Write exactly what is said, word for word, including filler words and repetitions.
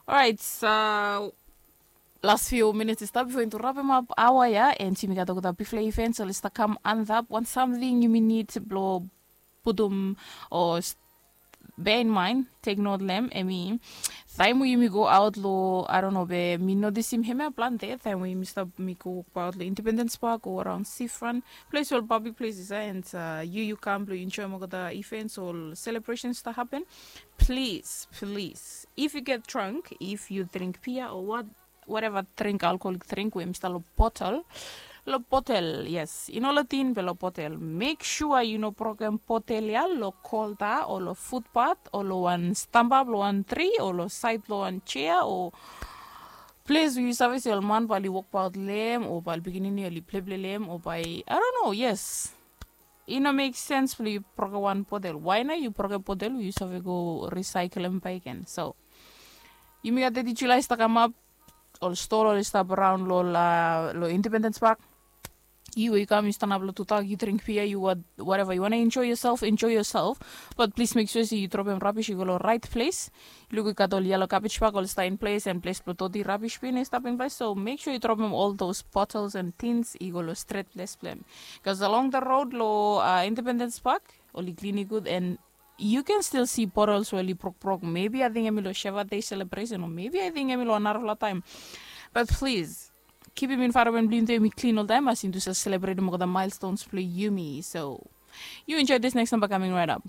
Orait, las fiu minits i stap bifo yumi tu rapem ap aoa ya, and yumi gat olgeta bigfala events oli stap kam antap. Wan samting yumi nid blong putum o bea in mind, tek not long em, em i taem we yumi go aot long, I don't know, be mi notisim hemia plante taem we yumi stap, mi go wokbaot long Independence Park o araon seafront, ples we ol public places ya, and yu yu kam blong yu enjoem olgeta events o ol celebrations i stap hapen. Plis, plis, if yu get drunk, if yu dring bia o wat, whatever drink, alcoholic drink we em i stap long botel, long botel, yes, i no long tin be long botel, mek sua yu no brokem botel ya long kolta o long futpat o long wan stamba blong wan tri o long saed blong wan jea o ples we yu save se ol man bae oli wokbaot long em o bae ol pikinini oli pleple long em o bae, I don't know, yes. I no mek sens blong yu brokem wan botel. Wae nao yu brokem botel we yu save go risaeklem bakegen? So yumi gat teti Julae i stap kamap. Ol stoa oli stap araon long, long Independence Park. Yu we yu kam, yu stanap long tudak, yu dring bia, yu wat, whatever, yu wantem enjoe yoself, enjoe yoself. Bat plis mek sua se yu dropem rabis i go long raet ples. Luk, i gat ol yelo gabej bag oli stap in ples, and ples blong doti rabis bin i stap in ples. So mek sua yu dropem ol dos botels and tins i go long stret ples blong em. Bikos along the road long Independence Park oli klini gud, and yu ken stil si botels we oli brokbrok. Mebi ating em i long Sheva Day selebresen o mebi ating em i long narafala taem. Bat plis, kipim envaeronmen blong yumi tu em i klin oltaem as yumi tu save selebretem olgeta milestones blong yumi. So yu enjoe this next number coming right up.